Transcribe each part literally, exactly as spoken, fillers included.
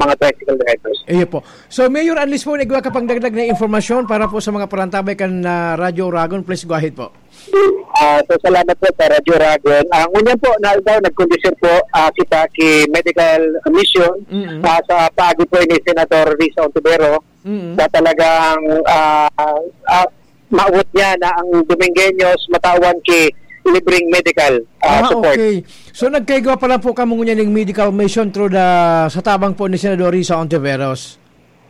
mga tricycle drivers. Iyo po. So, Mayor, unless po nagwa ka pang dagdag na impormasyon para po sa mga parantabay kan, ah, Radyo Oragon, please go ahead po. Ah, so, salamat po sa Radyo Oragon. Ah, ngunyan po, na daw, nagkondisyon po, ah, kita ki medical mission, Mm. ah, sa paagi po ni Senator Risa Ontivero, Mm. sa talagang, ah, ah, maawot niya na ang Domingueños matawan ki libreng medical, ah, Ah, support. okay. So, nagkaigwa pa lang po kamo ngunyan ning medical mission through the, sa tabang po ni Senador Risa Ontiveros?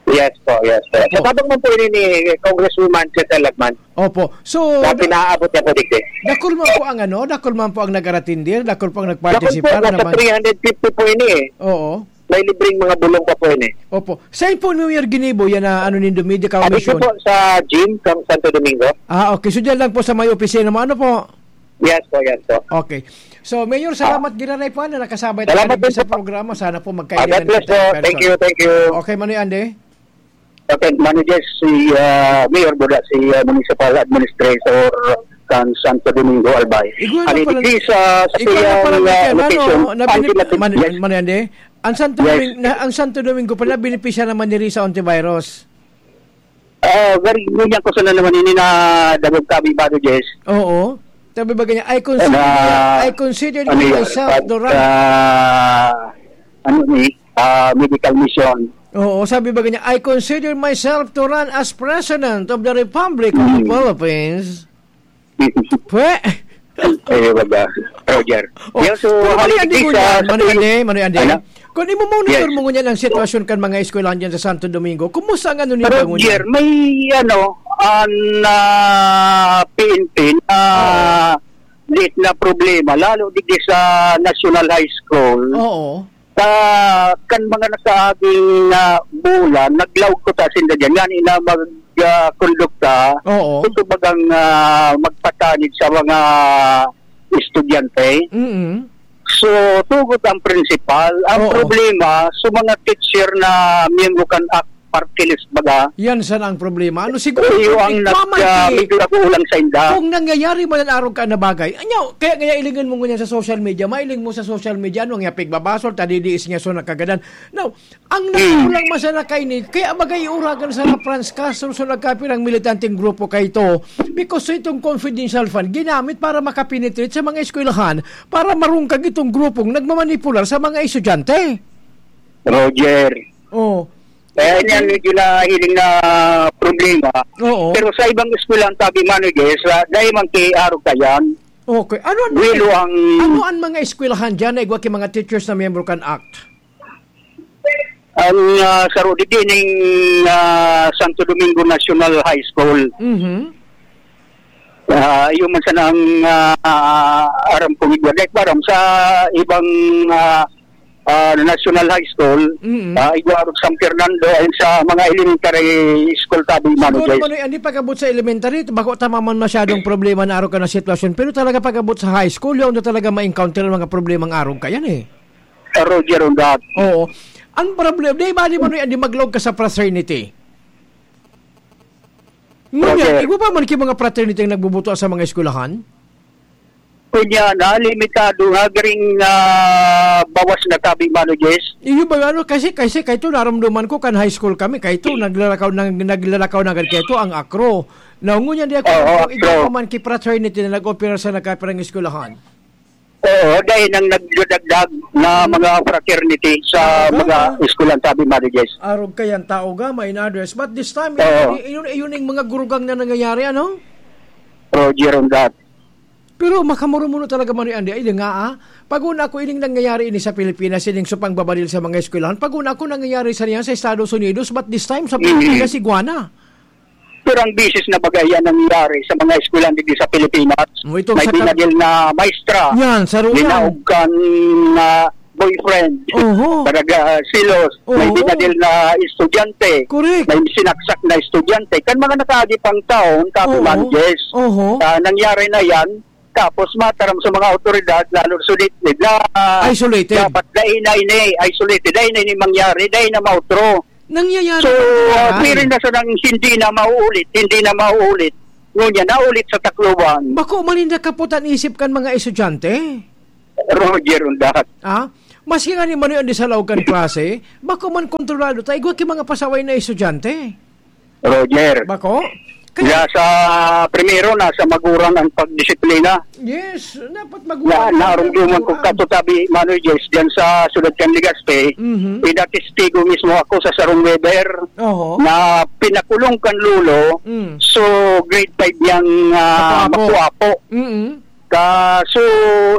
Yes po, yes po. Opo. Sa tabang man po ini ni Congresswoman Cecil Lagman. Opo. So, Na da-, pinaabot niya po digdi. dakul man po ang ano, dakul man po ang nag-aratindir, dakul po ang Dakul po, nagpartisipar nasa naman. three hundred fifty po ini eh. Oo. May libreng mga bulong pa po ini. Opo. Saan po New Year ginibo yan na ano nindo, medical Ano ito mission? po sa gym kang Santo Domingo? Ah, okay. So, dyan lang po sa may opisina mo. Ano po? Yes po, yes po. Okay. So, Mayor, salamat giraray po na nakasabay Salamat tayo din sa po. programa. Sana po Ah, magkaibigan God bless kita po. in Thank person. you, thank you. Okay, Manoy Andy? Okay, Manoy Jess, si, ah, Mayor Buda, si, ah, Municipal Administrator kan Santo Domingo, Albay. Igual na Ano, pala. Di sa, sa Igual na pala, piyang, ah, Manoy, location, ano, na ang binip-, pinatid-, Man-, yes. Manoy Andy? Ang Santo Yes. Domingo, na, ang Santo Domingo pala, benepisya naman ni Risa Ontiveros. Ah, very, ngunyan ko sana naman ini na dagog tabi, Bado Jess. Oo. Sabi ba ganyan, "I consider, Na, I consider ano yan, myself but, the right." ah, ano ni, ah, medical mission. Oo, sabi ba ganyan, "I consider myself to run as President of the Republic of the Mm. Philippines." Pwe! Eh, wag, ah, Roger. Oh, Yan, so, pero Manoy Andy haliligis, ngunyan, ah, sa Manoy tuwing Andy, Manoy Andy. Ano? Kung imo-monitor Yes. mo ngunyan ang sitwasyon kan mga eskwelahan dyan sa Santo Domingo, kumusta ang ano ninyo Pero, ngunyan? Jer, may, ano, an, ah, P N P na Oo. liit na problema, lalo digdi sa National High School. Oo. Sa, kan mga nakaaging, ah, bulan, naglaog ko ta sinda dyan. Ngani na mag, ah, kondukta, Oo. ito bagang, ah, magpatanid sa mga estudyante. Mm. So, tugot ang principal. Ang Oo. problema, sa mga teacher na miyembro kan act, party list baga. Yan sana ang problema. Ano siguro, Iyo ang kung nag-, ikaw man ah, ki-, medyo nag-uulang sa inda. kung nangyayari man ang arog ka na bagay, anyo, kaya, kaya ilingan mo ngunyan sa social media, mailing mo sa social media, ano nga pigbabasol, tadidiis niya so nakagadan. Now, ang Hmm. nakulang man sana kaini, kaya bagay iuragan sana Franz Castro so nagkapirang militanteng grupo kaito, because so itong confidential fund, ginamit para makapenetrate sa mga eskwelahan, para marungkag itong grupong nagmamanipular sa mga estudyante. Roger. Oh. Kaya niyan, medyo nahiling na problema. Oo. Pero sa ibang eskwelahan, sabi, Manoy Jess, ah, dahil man kay Arog Kayan, Okay. Ano ang mga, Guilo ang ano ang mga eskwelahan dyan na igwa ki mga teachers na miyembro kan act? Ang, ah, saro digdi ning, ah, Santo Domingo National High School. Mhm. Ah, iyo man sana ang, ah, aram kong igwa. Dahil aram sa ibang, ah, ah, National High School, Mm. ah, igwa San Fernando, and sa mga elementary school tabi, Manoy Siguro, Jess. Manoy, hindi pag-abot sa elementary, bako tama man masyadong problema na arog ka na sitwasyon. Pero talaga pag-abot sa high school, yun na talaga ma-encounter ang mga problemang arog ka yan eh. Roger, on that. Oo. Ang problema, di ba, di, Manoy, hindi maglog ka sa fraternity? Ngunyan, Roger. Igwa pa man ki mga fraternity ang nagbubuto sa mga eskwelahan? Kunya na, limitado nga, garing, ah, bawas na tabi, Manoy Jess. Iyo ba, ano, kasi, kasi kaito naramdaman ko kan high school kami, kaito naglalakaw, nag-, naglalakaw na agad kaito ang akro. Now, ngunyan di ako Oo, kung igwa akro. pa man ki fraternity na nag-opera sa nagkapirang eskwelahan. Oo, dahil nang nagdadagdag na Hmm. mga fraternity sa Talaga? mga eskwelahan, sabi, Manoy Jess. Arog ka yan, tao ga, may in others. But this time, Oo. yun, yun, yun yung mga gurugang na nangyayari, ano? Roger, on that. Pero makamuro-muro talaga, Manoy Andy, ay, nga, ah. Pag una ako, ining nangyayari ini sa Pilipinas, ining supang babadil sa mga eskwelahan. Pag una ako, nangyayari sa niya sa Estados Unidos, but this time, sa Mm. Pilipinas, iguana. Pero ang bisis na bagay yan nangyayari sa mga eskwelahan dito sa Pilipinas. Oh, itong May sa ka- binadil na maestra. Yan, sa Ruyang. Linaog kan, ah, boyfriend. Oho. Talaga, ah, silos. May Oho. binadil na estudyante. Correct. May sinaksak na estudyante. Kan mga nakaagi pang taon, tabi Oo. man, yes. Oho. Ah, nangyari na yan. Tapos mataram sa mga awtoridad, lalo sulit na Isolated. dapat dahil na ini, isolated, dahil na ini mangyari, dahil na mautro. Nangyayari So, na uh, yan. Pwede na sanang hindi na mauulit, hindi na mauulit. Ngunyan, naulit sa Tacloban. Bako man yung nakaputan isip kan mga estudyante? Roger, undahat. Ah? Maski nga ni Manoy Andy sa laog kan klase, bako man kontrolado ta igwa ki mga pasaway na estudyante. Roger. Bako? Kaya Kaya sa primero, nasa magurang ang pagdisiplina. Yes, dapat Na, magurang ang narumduman ko pagurang. Kato tabi, Manoy Jess, dyan sa siyudad kan Legazpi, Mhm. pinatistigo mismo ako sa sarong weather Oho. na pinakulong kan lolo, Mm. so grade five niyang, ah, Makuapo. Makuapo. Mm. Ka, so,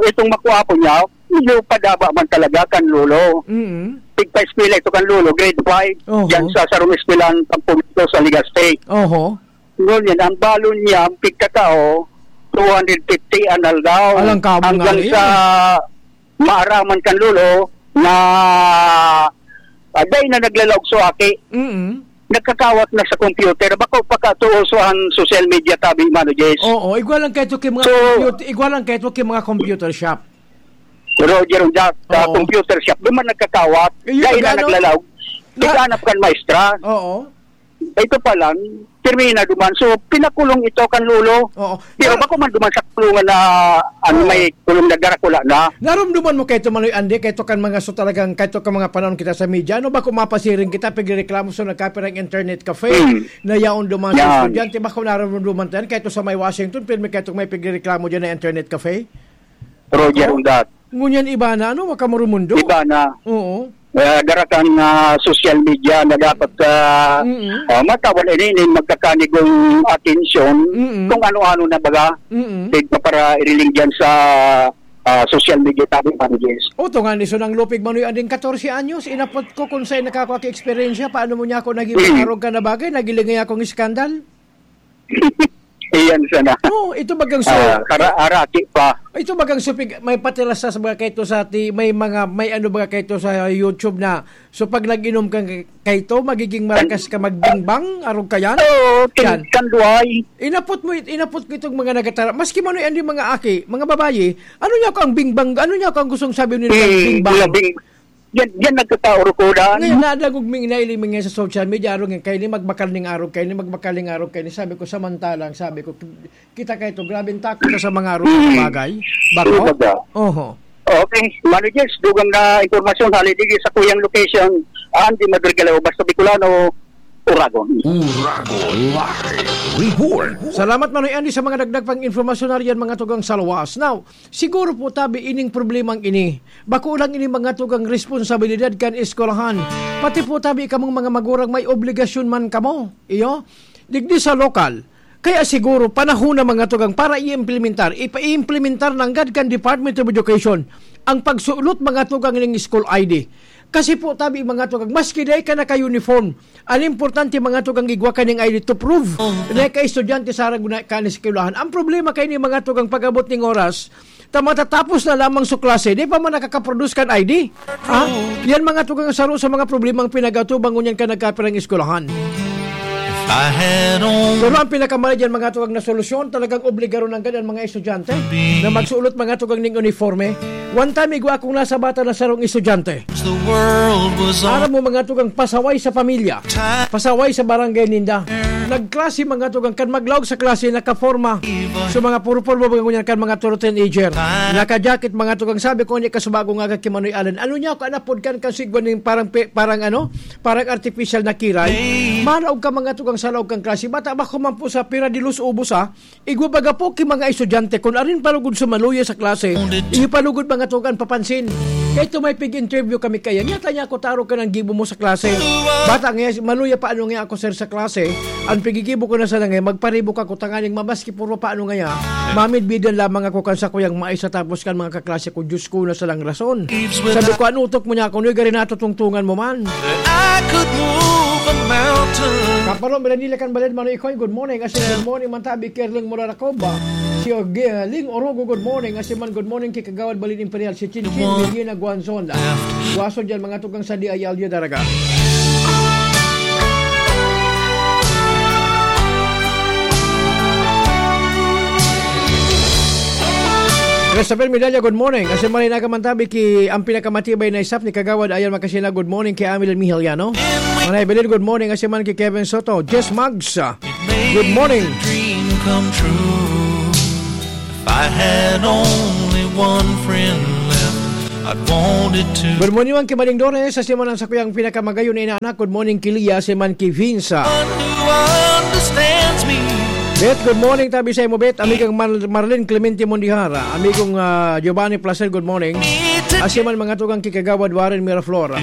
itong Makuapo niya, medyo padaba man talaga kan lolo. Mm. Tigpa-eskwela ito kan lolo, grade five, Oho. dyan sa sarong eskwelahan pampubliko sa Legazpi. Oho. Ngunyan, ang balon niya, ang pigkatao, two hundred fifty an aldaw. Alang kabong Hanggang nga sa eh. maaraman kan lolo na, ah, dai na naglalaog so aki. Mm. Nagkakawat na sa computer. Bako pa katuo so ang social media tabi, Mano Jess. Oo, igwa lang kaito ki mga So, computer, igwa lang kaito ki mga computer shop. Roger, on that, sa Oo. computer shop, di man nagkakawat, Iyo, dai na nagano? naglalaog. Na- Naghanap kan maestra. Oo. Ito pa lang, terminado man. So, pinakulong ito kan lolo. Oo. Pero Na- bako man duman sa kulungan na, ano, Oo. may kulong na darakula na. Narumduman mo kaito, Manoy Andy, kaito kan mga so talagang, kaito kan mga panahon kita sa media. Ano ba kung mapasiring kita, pigrereklamo so nagkapirang internet cafe Hmm. na yaon duman sa Yan. estudyante? Bako narumduman tayo, kaito sa may Washington, pirmi kaito may pigrereklamo dyan na internet cafe? Roger, Oo. on that. Ngunyan iba na, ano, makamurumundo. Iba na. Oo. Ah, dara kan, ah, social media na dapat, ah, Mm-mm. ah, matawan ini, ini magkakanigong atensyon Mm-mm. kung ano-ano na baga. Mm-mm. Tigpa para iriling dyan sa, ah, social media tabi, Mano Jess. O, to nga ni Sunang Lupig Manoy Anding, katorse anyos, inapot ko kung saan nakakwa ki eksperyensya, paano mo niya ako naging Mm. arog ka na bagay, nagilingay akong iskandal? Iyan sana. Oo, ito bagang so Ah, kara-, araki pa. Ito bagang supig, may patiras sa mga kaito sa ti-, may mga, may ano ba kaito sa YouTube na, so pag nag-inom ka kaito, magiging marakas ka magbingbang, arog ka yan? Oo, kin-, Yan. kanduhay. Inapot mo it-, inapot ko itong mga nagatara-, maski Manoy Andy mga aki, mga babayi, ano niya ko ang bingbang, ano niya ko ang gustong sabi nila Hmm, bingbang? mga bing-, yan, yan nagkakaorokodan. Ngayon, nadagog ming nailing mi ngayon sa social media, arog yan, kayo ni magbakal ning arog, kayo ni magbakal ning arog, kayo ni sabi ko, samantalang, sabi ko, kita kayo to, grabe ang takot na sa mga arog na bagay. Bako? Talaga. Oho. Okay, Mano Jess, dugang na impormasyon, hali digi sa kuyang location, Andy Madrigalao, basta Bicolano, Uragon. Uragon Live Report. Salamat, Manoy Andy, sa mga dagdag pang impormasyon na riyan, mga tugang sa luwas. Now, siguro po, tabi, ining problemang ini, bako lang ini mga tugang responsabilidad kan eskwelahan. Pati po, tabi, kamong mga magurang may obligasyon man kamo. Iyo? Digdi sa lokal. Kaya siguro, panahon na mga tugang para i-implementar, ipa-implementar nanggad kan Department of Education ang pagsulot mga tugang ning school I D. Kasi po, tabi mga tugang, maski dai ka naka-uniform, ang importante mga tugang igwa ka ning I D to prove na ka estudyante sa harag na kan eskwelahan. Ang problema kay ni mga tugang pag-abot ning oras, ta matatapos na lamang sa klase, di pa man nakakaproduce kan I D. Ha? Yan mga tugang saro sa mga problemang pinag-atubang ngunyan ka nagkapirang eskwelahan. If I had only Pero ang pinakamali dyan, mga tugang na solusyon, talagang obligaron ang ganyan mga estudyante na magsuot mga tugang ning uniforme. One time, igwa akong nasa bata na sarong estudyante. The world was on Aram mo, mga tugang pasaway sa pamilya, pasaway sa barangay ninda. Nagklase, mga tugang, kan maglaog sa klase, nakaporma. So, mga puro-puro, mga ngunyan kan mga turo teenager. Naka-jacket, mga tugang, sabi ko, "Hindi ka subago nga ki Manoy Alan." Ano niya ako, anapod kan kasigwan ning parang pe-, parang ano, parang artificial na kiray. Manaog ka, mga tugang, sa laog kang klase. Bata ba ko man po sa pira de luz ubos, ha? Igwa baga po ki mga estudyante, kun arin palugod sa maluya sa klase, iyo palugod mga tugang papansin. Kay ito may pig-interview kami kaya, nyata niya ako taro ka ng gibo mo sa klase. Bata nga, maluya pa ano nga ako, sir, sa klase. Ang pigigibo ko na sana nga, magparibok ako tanganing mamaski puro pa ano nga ya. Mamidbidan lamang ako kan sa kuyang maisa tapos kan mga kaklase ko, Diyos ko, na salang rason. Sabi ko, "Ano utok mo niya ako? Noy gari natutungtungan mo man?" I could move a mountain. Kaparo, Miranila kan Baled, Manoy Ikoy, good morning. Asin, good morning, Mantabi, Kerling Moraracoba. Si Og-, uh, Ling Orogo, good morning. Asin man, good morning, ki Kagawad Balin Imperial, si Chinchin, Medina Guanzon. Guaso dyan, mga tugang sa D I L U Daraga. Christopher Medalla, good morning. Asin man, Mantabi, ki ang pinakamatibay na isap ni Kagawad Ayan Makasina, good morning, ki Amil Mihiliano. Manay Belin, good morning. Asin man, ki Kevin Soto. Jess Mags, ah, good morning. Dream come true. If I had only one friend left, I wanted to. Good morning, Ma'am Kimaling Dores. Sa Simon ang sakuyang pinakamagayon na inaanak. Good morning, Kilia, si Man Kivinsa. One who understands me. Bet, good morning, tabi sa imo, Bet. Amigong Mar- Marlene Clemente Mondihara. Amigong ah, Giovanni Placer, good morning. Asiman mga tugang kikagawad Warren Miraflora.